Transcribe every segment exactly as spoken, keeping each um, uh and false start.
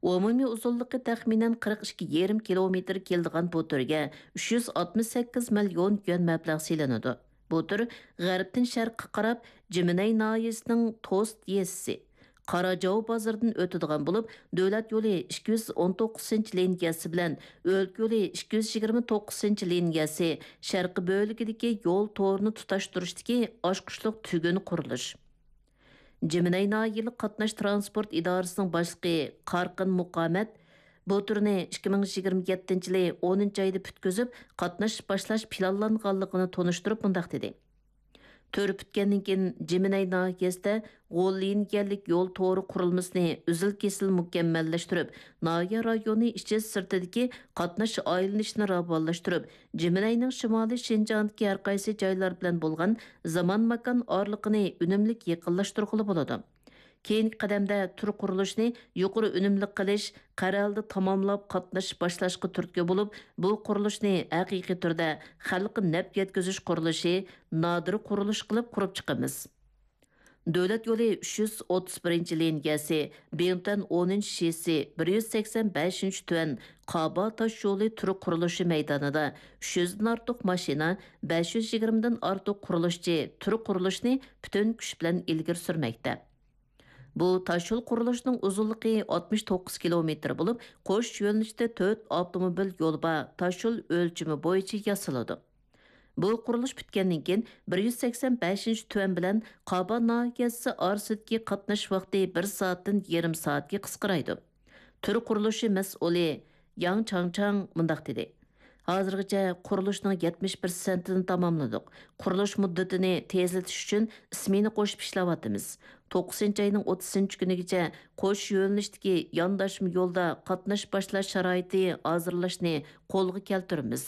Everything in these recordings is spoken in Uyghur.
ئومۇمىي ئۇزۇنلۇقى تەخمىنەن قىرىق ئىككى يېرىم كىلومېتىر كېلىدىغان بۇ تۈرگە ئۈچ يۈز ئاتمىش سەككىز مىليون يۈەن مەبلەغ سېلىنىدۇ. بۇ تۈر غەربتىن شەرققە قاراپ جىمىنەي ناھىيەسىنىڭ توست يېزىسى، قاراجاۋ بازىرىدىن ئۆتىدىغان بولۇپ، دۆلەت يولى ئىككى يۈز ئون توققۇزىنچى لىنىيەسى بىلەن ئۆلكە يولى ئىككى يۈز يىگىرمە توققۇزىنچى لىنىيەسى شەرقىي بۆلىكىدىكى يول تورىنى تۇتاشتۇرۇشتىكى ئاچقۇچلۇق تۈگۈن قۇرۇلۇش. جىمىنەي ناھىيەلىك قاتناش ترانسپورت ئىدارىسىنىڭ باشلىقى قارقىن مۇقامەت بۇ تۈرنى ئىككى مىڭ يىگىرمە يەتتىنچى يىلى ئونىنچى ئايدا پۈتكۈزۈپ، قاتناش باشلاش پىلانلانغانلىقىنى تونۇشتۇرۇپ مۇنداق دېدى: تۈر پۈتكەندىن كېيىن، جىمىنەي ناھىيەسىدە غول لىنىيەلىك يول تورى قۇرۇلمىسىنى ئۈزۈل-كېسىل مۇكەممەللەشتۈرۈپ، ناھىيە رايونى ئىچى سىرتىدىكى قاتناش ئايلىنىشىنى راۋانلاشتۇرۇپ، جىمىنەينىڭ شىمالىي شىنجاڭدىكى ھەر قايسى جايلار بىلەن بولغان زامان ماكان ئارىلىقىنى ئۈنۈملۈك يېقىنلاشتۇرغىلى بولىدۇ. كېيىنكى قەدەمدە تۈر قۇرۇلۇشىنى يۇقىرى ئۈنۈملۈك قىلىش، قەرەلدە تاماملاپ قاتنىشىپ باشلاشقا تۈرتكە بولۇپ، بۇ قۇرۇلۇشنى ھەقىقىي تۈردە خەلققە نەپ يەتكۈزۈش قۇرۇلۇشى، نادىر قۇرۇلۇش قىلىپ قۇرۇپ چىقىمىز. دۆلەت يولى ئۈچ يۈز ئوتتۇز بىرىنچى لىنىيەسى، بىڭتۈەن ئونىنچى شىسى، بىر يۈز سەكسەن بەشىنچى تۈەن قابا تاش يولى تۈر قۇرۇلۇشى مەيدانىدا ئۈچ يۈزدىن ئارتۇق ماشىنا، بەش يۈز يىگىرمىدىن ئارتۇق قۇرۇلۇشچى تۈر قۇرۇلۇشىنى پۈتۈن كۈچ بىلەن ئىلگىرى سۈرمەكتە. بۇ تاشيول قۇرۇلۇشىنىڭ ئۇزۇنلۇقى ئاتمىش توققۇز كىلومېتىر بولۇپ، قوش يۆنىلىشتە تۆت ئاپتوموبىل يولى بار تاشيول ئۆلچىمى بويىچە ياسىلىدۇ. بۇ قۇرۇلۇش پۈتكەندىن كېيىن، بىر يۈز سەكسەن بەشىنچى تۈەن بىلەن قابا ناھىيەسى ئارىسىدىكى قاتناش ۋاقتى بىر سائەتتىن يېرىم سائەتكە قىسقىرايدۇ. تۈر قۇرۇلۇشى مەسئۇلى ياڭ چاڭچاڭ مۇنداق دېدى: ھازىرغىچە قۇرۇلۇشنىڭ يەتمىش پىرسەنتىنى تاماملىدۇق. قۇرۇلۇش مۇددىتىنى تېزلىتىش ئۈچۈن ئىسمېنا قوشۇپ ئىشلەۋاتىمىز. توققۇزىنچى ئاينىڭ ئوتتۇزىنچى كۈنىگىچە قوش يۆنىلىشتىكى يانداشما يولدا قاتناش باشلاش شارائىتى ھازىرلاشنى قولغا كەلتۈرىمىز.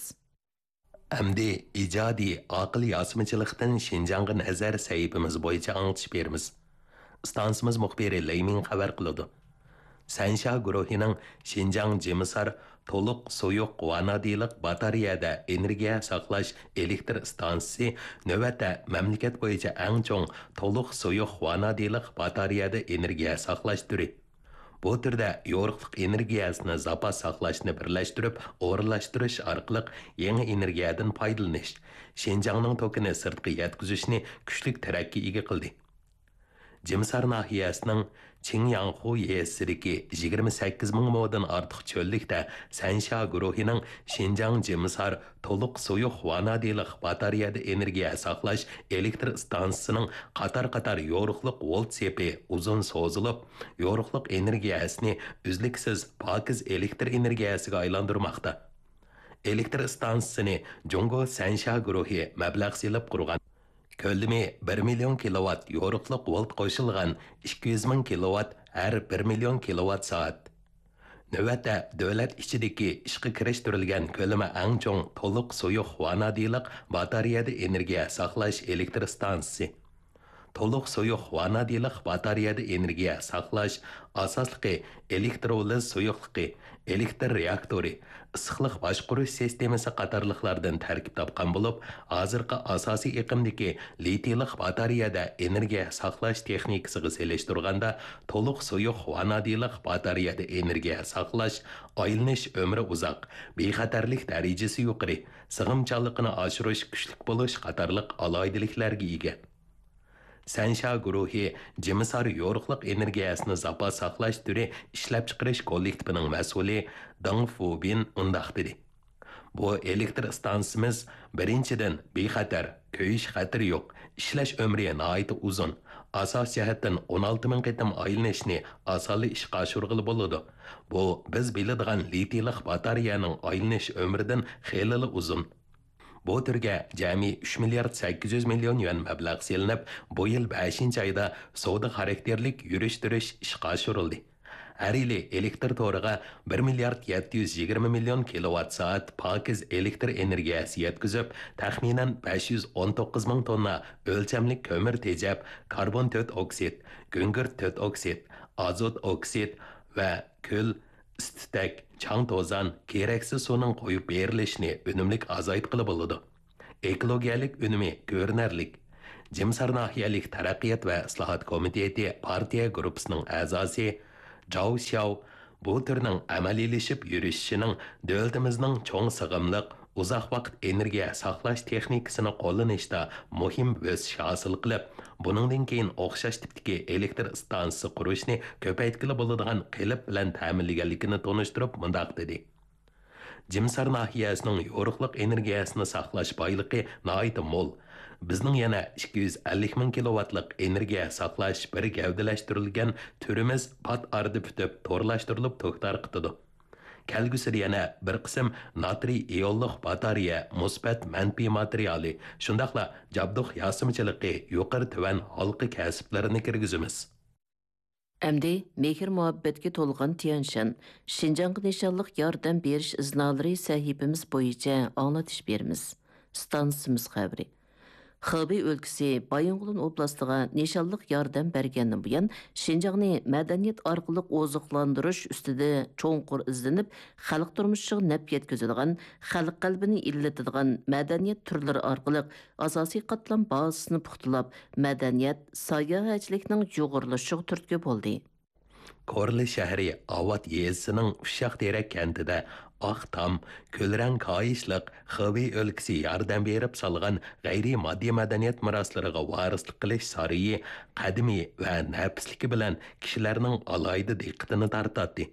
ئەمدى ئىجادىي ئاقىل ياسىمىچىلىقتىن شىنجاڭغا نەزەر سەھىپىمىز بويىچە ئاڭلىتىش بېرىمىز. ئىستانسىمىز مۇخبىرى لېي مىڭ خەۋەر قىلىدۇ. سەنشيا گۇرۇھىنىڭ شىنجاڭ جىمىسار تولۇق سۇيۇق ۋانادىلىق باتارېيەدە ئېنېرگىيە ساقلاش ئېلېكتر ئىستانسىسى نۆۋەتتە مەملىكەت بويىچە ئەڭ چوڭ تولۇق سۇيۇق ۋانادىلىق باتارېيەدە ئېنېرگىيە ساقلاش تۈرى. بۇ تۈردە يورۇقلۇق ئېنېرگىيەسىنى زاپاس ساقلاشنى بىرلەشتۈرۈپ ئورۇنلاشتۇرۇش ئارقىلىق يېڭى ئېنېرگىيەدىن پايدىلىنىش، شىنجاڭنىڭ توكىنى سىرتقا يەتكۈزۈشنى كۈچلۈك تىرەككە ئىگە قىلدى. جىمسار ناھىيەسىنىڭ چىڭياڭخۇ يېزىسىدىكى يىگىرمە سەككىز مىڭ مودىن ئارتۇق چۆللۈكتە سەنشيا گۇرۇھىنىڭ شىنجاڭ جىمسار تولۇق سۇيۇق ۋانادىلىق باتارېيەدە ئېنېرگىيە ساقلاش ئېلېكتر ئىستانسىسىنىڭ قاتار-قاتار يورۇقلۇق ۋولت سېپى ئۇزۇن سوزۇلۇپ، يورۇقلۇق ئېنېرگىيەسىنى ئۈزلۈكسىز پاكىز ئېلېكتر ئېنېرگىيەسىگە ئايلاندۇرماقتا. ئېلېكتر ئىستانسىسىنى جۇڭگو سەنشيا گۇرۇھى مەبلەغ سېلىپ قۇرغان. كۆلىمى بىر مىليون كىلوۋات يورۇقلۇق ۋولت قوشۇلغان ئىككى يۈز مىڭ كىلوۋات ھەر بىر مىليون كىلوۋات سائەت. نۆۋەتتە دۆلەت ئىچىدىكى ئىشقا كىرىشتۈرۈلگەن كۆلىمى ئەڭ چوڭ تولۇق سۇيۇق ۋانادىلىق باتارېيەدە ئېنېرگىيە ساقلاش ئېلېكتر ئىستانسىسى. تولۇق سۇيۇق ۋانادىلىق باتارېيەدە ئېنېرگىيە ساقلاش ئاساسلىقى ئېلېكتروۋولىز سۇيۇقلۇقى، ئېلېكتر رېئاكتورى، ئىسسىقلىق باشقۇرۇش سىستېمىسى قاتارلىقلاردىن تەركىب تاپقان بولۇپ، ھازىرقى ئاساسىي ئېقىمدىكى لىتىيلىق باتارېيەدە ئېنېرگىيە ساقلاش تېخنىكىسىغا سېلىشتۇرغاندا، تولۇق سۇيۇق ۋانادىلىق باتارېيەدە ئېنېرگىيە ساقلاش ئايلىنىش ئۆمرى ئۇزاق، بىخەتەرلىك دەرىجىسى يۇقىرى، سىغىمچانلىقىنى ئاشۇرۇش كۈچلۈك بولۇش قاتارلىق ئالاھىدىلىكلەرگە ئىگە. سەنشيا گۇرۇھى جىمىسار يورۇقلۇق ئېنېرگىيەسىنى زاپاس ساقلاش تۈرى ئىشلەپچىقىرىش كوللېكتىپىنىڭ مەسئۇلى دېڭ فۇبىن مۇنداق دېدى: بۇ ئېلېكتر ئىستانسىسىمىز، بىرىنچىدىن، بىخەتەر، كۆيۈش خەتىرى يوق، ئىشلەش ئۆمرى ناھايىتى ئۇزۇن، ئاساسىي جەھەتتىن ئون ئالتە مىڭ قېتىم ئايلىنىشنى ئاسانلا ئىشقا ئاشۇرغىلى بولىدۇ. بۇ بىز بىلىدىغان لىتىيلىق باتارېيەنىڭ ئايلىنىش ئۆمرىدىن خېلىلا ئۇزۇن. بۇ تۈرگە جەمئىي ئۈچ مىليارد سەككىز يۈز مىليون يۈەن مەبلەغ سېلىنىپ، بۇ يىل بەشىنچى ئايدا سودا خاراكتېرلىك يۈرۈشتۈرۈش ئىشقا ئاشۇرۇلدى. ھەر يىلى ئېلېكتر تورىغا بىر مىليارد يەتتە يۈز يىگىرمە مىليون كىلوۋات سائەت پاكىز ئېلېكتر ئېنېرگىيەسى يەتكۈزۈپ، تەخمىنەن بەش يۈز ئون توققۇز مىڭ توننا ئۆلچەملىك كۆمۈر تېجەپ، كاربون تۆت ئوكسىد، گۈڭگۈرت تۆت ئوكسىد، ئازوت ئوكسىد ۋە كۈل، ئىس-تۈتەك، چاڭ-توزان، كېرەكسىز سۇنىڭ قويۇپ بېرىلىشىنى ئۈنۈملۈك ئازايتقىلى بولىدۇ. ئېكولوگىيەلىك ئۈنۈمى كۆرۈنەرلىك. جىمسار ناھىيەلىك تەرەققىيات ۋە ئىسلاھات كومىتېتى پارتىيە گۇرۇپپىسىنىڭ ئەزاسى جاۋ شياۋ بۇ تۈرنىڭ ئەمەلىيلىشىپ يۈرۈشۈشىنىڭ دۆلىتىمىزنىڭ چوڭ سىغىملىق، ئۇزاق ۋاقىت ئېنېرگىيە ساقلاش تېخنىكىسىنى قوللىنىشتا مۇھىم ئۆسۈش ھاسىل قىلىپ، بۇنىڭدىن كېيىن ئوخشاش تىپتىكى ئېلېكتر ئىستانسىسى قۇرۇشنى كۆپەيتكىلى بولىدىغان قېلىپ بىلەن تەمىنلىگەنلىكىنى تونۇشتۇرۇپ مۇنداق دېدى: جىمسار ناھىيەسىنىڭ يورۇقلۇق ئېنېرگىيەسىنى ساقلاش بايلىقى ناھايىتى مول. بىزنىڭ يەنە ئىككى يۈز ئەللىك مىڭ كىلوۋاتلىق ئېنېرگىيە ساقلاش بىر گەۋدىلەشتۈرۈلگەن تۈرىمىز پات ئارىدا پۈتۈپ، تورلاشتۇرۇلۇپ توك تارقىتىدۇ. كەلگۈسىدە يەنە بىر قىسىم ناترىي ئىيونلۇق باتارېيە مۇسبەت مەنپىي ماتېرىيالى، شۇنداقلا جابدۇق ياسىمىچىلىقى يۇقىرى تۆۋەن ھالقا كەسىپلىرىنى كىرگۈزىمىز. ئەمدى مېھىر-مۇھەببەتكە تولغان تيەنشان، شىنجاڭغا نىشانلىق ياردەم بېرىش ئىزنالىرى سەھىپىمىز بويىچە ئاڭلىتىش بېرىمىز. ئىستانسىمىز خەۋىرى. خېبېي ئۆلكىسى بايىنغولىن ئوبلاستىغا نىشانلىق ياردەم بەرگەندىن بۇيان، شىنجاڭنى مەدەنىيەت ئارقىلىق ئوزۇقلاندۇرۇش ئۈستىدە چوڭقۇر ئىزدىنىپ، خەلق تۇرمۇشىغا نەپ يەتكۈزىدىغان، خەلق قەلبىنى ئىللىتىدىغان مەدەنىيەت تۈرلىرى ئارقىلىق ئاساسىي قاتلام بازىسىنى پۇختىلاپ، مەدەنىيەت، ساياھەتچىلىكنىڭ يۇغۇرۇلۇشىغا تۈرتكە بولدى. كورلا شەھىرى ئاۋات يېزىسىنىڭ ئۇششاق تېرەك كەنتىدە ئاق تام، كۈلرەڭ كاھىشلىق خېبېي ئۆلكىسى ياردەم بېرىپ سالغان غەيرىي ماددىي مەدەنىيەت مىراسلىرىغا ۋارىسلىق قىلىش سارىيى قەدىمىي ۋە نەپىسلىكى بىلەن كىشىلەرنىڭ ئالاھىدە دىققىتىنى تارتاتتى.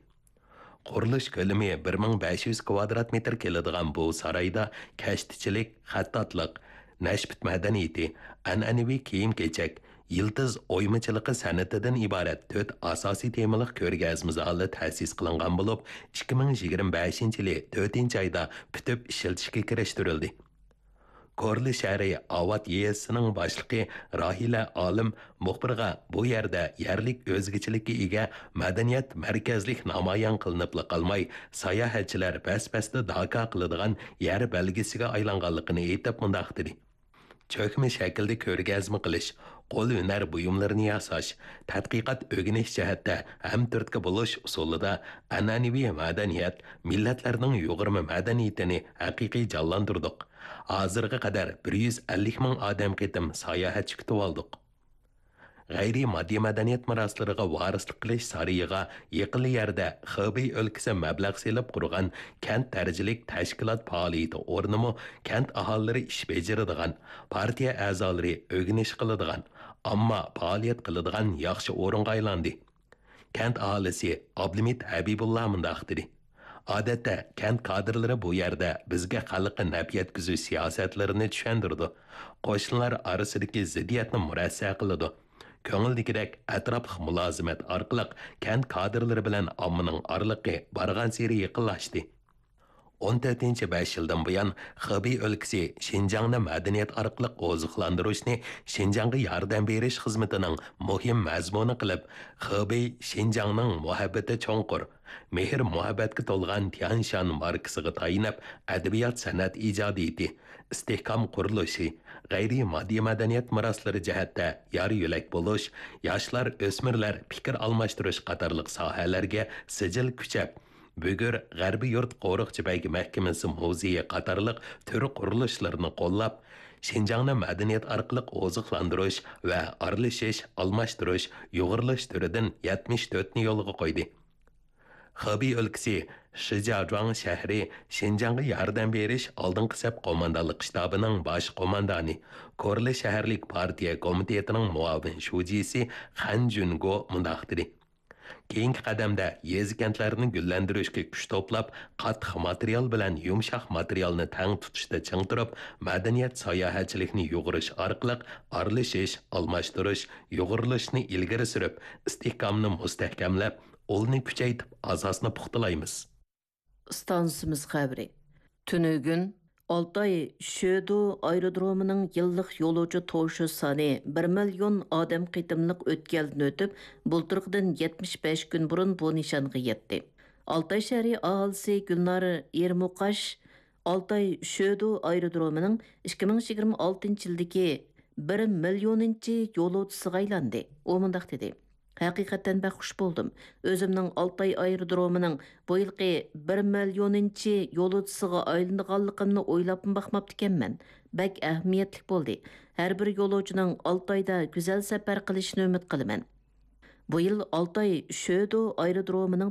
قۇرۇلۇش كۆلىمى بىر مىڭ بەش يۈز كۋادرات مېتىر كېلىدىغان بۇ سارايدا كەشتىچىلىك، خەتتاتلىق، نەشپۈت مەدەنىيىتى، ئەنئەنىۋى كىيىم-كېچەك، يىلتىز ئويمىچىلىقى سەنئىتىدىن ئىبارەت تۆت ئاساسىي تېمىلىق كۆرگەزمە زالى تەسىس قىلىنغان بولۇپ، ئىككى مىڭ يىگىرمە بەشىنچى يىلى تۆتىنچى ئايدا پۈتۈپ ئىشلىتىشكە كىرىشتۈرۈلدى. كورلا شەھىرى ئاۋات يېزىسىنىڭ باشلىقى راھىلە ئالىم مۇخبىرغا بۇ يەردە يەرلىك ئۆزگىچىلىككە ئىگە مەدەنىيەت مەركەزلىك نامايان قىلىنىپلا قالماي، ساياھەتچىلەر بەس-بەستە داكا قىلىدىغان يەر بەلگىسىگە ئايلانغانلىقىنى ئېيتىپ مۇنداق دېدى: چۆكمە شەكىلدە كۆرگەزمە قىلىش، قول ھۈنەر بۇيۇملىرىنى ياساش، تەتقىقات ئۆگىنىش جەھەتتە ھەمتۈرتكە بولۇش ئۇسۇلىدا ئەنئەنىۋى مەدەنىيەت، مىللەتلەرنىڭ يۇغۇرما مەدەنىيىتىنى ھەقىقىي جانلاندۇردۇق. ھازىرغا قەدەر بىر يۈز ئەللىك مىڭ ئادەم قېتىم ساياھەتچى كۈتۈۋالدۇق. غەيرىي ماددىي مەدەنىيەت مىراسلىرىغا ۋارىسلىق قىلىش سارىيىغا يېقىنلا يەردە خېبېي ئۆلكىسى مەبلەغ سېلىپ قۇرغان كەنت دەرىجىلىك تەشكىلات پائالىيىتى ئورنىمۇ كەنت ئاھالىلىرى ئىش بېجىرىدىغان، پارتىيە ئەزالىرى ئۆگىنىش قىلىدىغان، ئامما پائالىيەت قىلىدىغان ياخشى ئورۇنغا ئايلاندى. كەنت ئاھالىسى ئابلىمىت ھەبىبۇللا مۇنداق دېدى: ئادەتتە كەنت كادىرلىرى بۇ يەردە بىزگە خەلققە نەپ يەتكۈزۈش سىياسەتلىرىنى چۈشەندۈرىدۇ، قوشنىلار ئارىسىدىكى زىددىيەتنى مۇرەسسە قىلىدۇ. كۆڭۈلدىكىدەك ئەتراپلىق مۇلازىمەت ئارقىلىق كەنت كادىرلىرى بىلەن ئاممىنىڭ ئارىلىقى بارغانسېرى يېقىنلاشتى. ئون تۆتىنچى بەش يىلدىن بۇيان، خېبېي ئۆلكىسى شىنجاڭنى مەدەنىيەت ئارقىلىق ئوزۇقلاندۇرۇشنى شىنجاڭغا ياردەم بېرىش خىزمىتىنىڭ مۇھىم مەزمۇنى قىلىپ، خېبېي شىنجاڭنىڭ مۇھەببىتى چوڭقۇر، مېھىر-مۇھەببەتكە تولغان تيەنشان ماركىسىغا تايىنىپ، ئەدەبىيات-سەنئەت ئىجادىيىتى، ئىستىھكام قۇرۇلۇشى، غەيرىي ماددىي مەدەنىيەت مىراسلىرى جەھەتتە يار-يۆلەك بولۇش، ياشلار، ئۆسمۈرلەر پىكىر ئالماشتۇرۇش قاتارلىق ساھەلەرگە سىجىل كۈچەپ، بۈگۈر غەربىي يۇرت قورۇقچى بەگ مەھكىمىسى مۇزېيى قاتارلىق تۈر قۇرۇلۇشلىرىنى قوللاپ، شىنجاڭنى مەدەنىيەت ئارقىلىق ئوزۇقلاندۇرۇش ۋە ئارىلىشىش، ئالماشتۇرۇش، يۇغۇرۇلۇش تۈرىدىن يەتمىش تۆتنى يولغا قويدى. خېبېي ئۆلكىسى شىجياجۇاڭ شەھىرى شىنجاڭغا ياردەم بېرىش ئالدىنقى سەپ قوماندانلىق شتابىنىڭ باش قوماندانى، كورلا شەھەرلىك پارتىيە كومىتېتىنىڭ مۇئاۋىن شۇجىسى خەن جۈنگو مۇنداق دېدى: كېيىنكى قەدەمدە يېزا-كەنتلەرنى گۈللەندۈرۈشكە كۈچ توپلاپ، قاتتىق ماتېرىيال بىلەن يۇمشاق ماتېرىيالنى تەڭ تۇتۇشتا چىڭ تۇرۇپ، مەدەنىيەت ساياھەتچىلىكىنى يۇغۇرۇش ئارقىلىق ئارىلىشىش، ئالماشتۇرۇش، يۇغۇرۇلۇشنى ئىلگىرى سۈرۈپ، ئىستىھكامنى مۇستەھكەملەپ، ئۇلنى كۈچەيتىپ، ئاساسنى پۇختىلايمىز. ئىستانسىمىز خەۋىرى. تۈنۈگۈن ئالتاي شۆدو ئايرودرومىنىڭ يىللىق يولۇچى توشۇش سانى بىر مىليون ئادەم قېتىملىق ئۆتكەلدىن ئۆتۈپ، بۇلتۇرقىدىن يەتمىش بەش كۈن بۇرۇن بۇ نىشانغا يەتتى. ئالتاي شەھىرى ئاھالىسى گۈلنار ئېرمۇقاش ئالتاي شۆدو ئايرودرومىنىڭ ئىككى مىڭ يىگىرمە ئالتىنچى يىلدىكى بىر مىليونىنچى يولۇچىسىغا ئايلاندى. ئۇ مۇنداق دېدى: ھەقىقەتەن بەك خۇش بولدۇم. ئۆزۈمنىڭ ئالتاي ئايرودرومىنىڭ بۇ يىلقى بىر مىليونىنچى يولۇچىسىغا ئايلىنىدىغانلىقىمنى ئويلاپمۇ باقماپتىكەنمەن. بەك ئەھمىيەتلىك بولدى. ھەر بىر يولۇچىنىڭ ئالتايدا گۈزەل سەپەر قىلىشىنى ئۈمىد قىلىمەن. بۇ يىل ئالتاي شۆدو ئايرودرومىنىڭ